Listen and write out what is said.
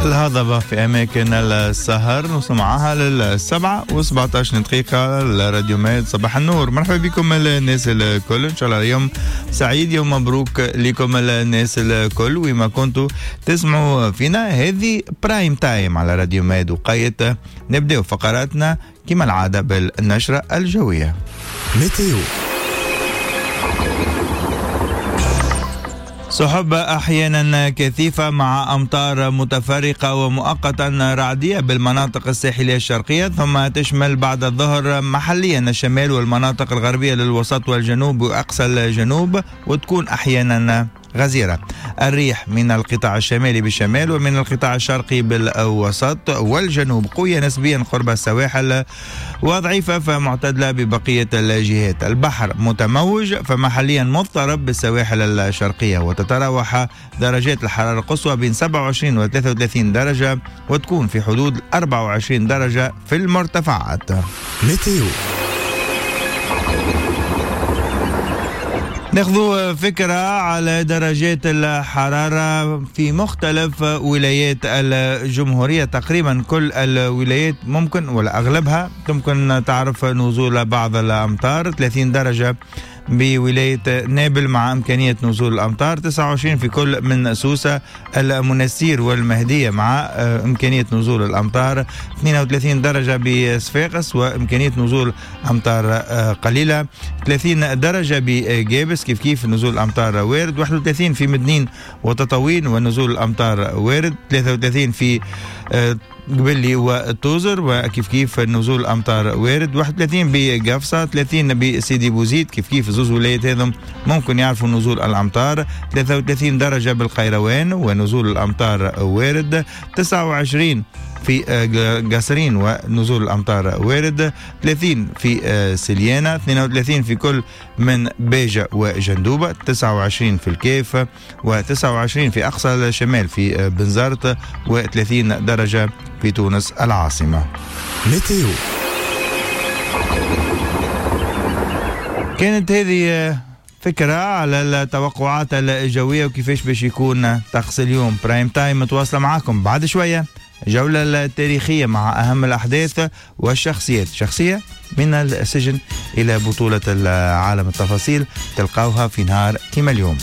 الهضبة في أماكن السهر. نوصل معاها 7:17 لراديو ماد. صباح النور، مرحبا بكم الناس الكل، إن شاء الله يوم سعيد، يوم مبروك لكم الناس الكل وما كنتوا تسمعوا فينا. هذه prime time على راديو ماد، وقيت نبدأ فقراتنا كما العادة بالنشرة الجوية. météo. سحب أحيانا كثيفة مع أمطار متفرقة ومؤقتا رعدية بالمناطق الساحلية الشرقية، ثم تشمل بعد الظهر محليا الشمال والمناطق الغربية للوسط والجنوب وأقصى الجنوب، وتكون أحيانا غزيرة. الريح من القطاع الشمالي بالشمال ومن القطاع الشرقي بالوسط والجنوب قوية نسبيا قرب السواحل وضعيفة فمعتدلة ببقية الجهات. البحر متموج فمحليا مضطرب بالسواحل الشرقية، وتتراوح درجات الحرارة القصوى بين 27 و 33 درجة، وتكون في حدود 24 درجة في المرتفعات. météo. ناخذ فكرة على درجات الحرارة في مختلف ولايات الجمهورية. تقريبا كل الولايات ممكن ولا أغلبها ممكن تعرف نزول بعض الأمطار. 30 درجة بولاية نابل مع إمكانية نزول الأمطار، 29 في كل من سوسة المنستير والمهدية مع إمكانية نزول الأمطار، 32 درجة بصفاقس وإمكانية نزول أمطار قليلة، 30 درجة بجابس كيف كيف نزول الأمطار وارد، 31 في مدنين وتطاوين ونزول الأمطار وارد، 33 في قبلي وتوزر وكيف كيف نزول الأمطار وارد، 31 بقفصة، 30 بسيدي بوزيد كيف كيف زوز ولايات هذم ممكن يعرفوا نزول الأمطار، 33 درجة بالقيروان ونزول الأمطار وارد، 29 في قصرين ونزول الأمطار وارد، 30 في سليانة، 32 في كل من باجة وجندوبة، 29 في الكيف و29 في أقصى الشمال في بنزرت، و30 درجة في تونس العاصمة. météo. كانت هذه فكرة على التوقعات الجوية وكيفاش باش يكون طقس اليوم. prime time متواصلة معاكم بعد شوية، جولة التاريخية مع أهم الأحداث والشخصيات، شخصية من السجن إلى بطولة العالم. التفاصيل تلقاوها في نهار كما اليوم.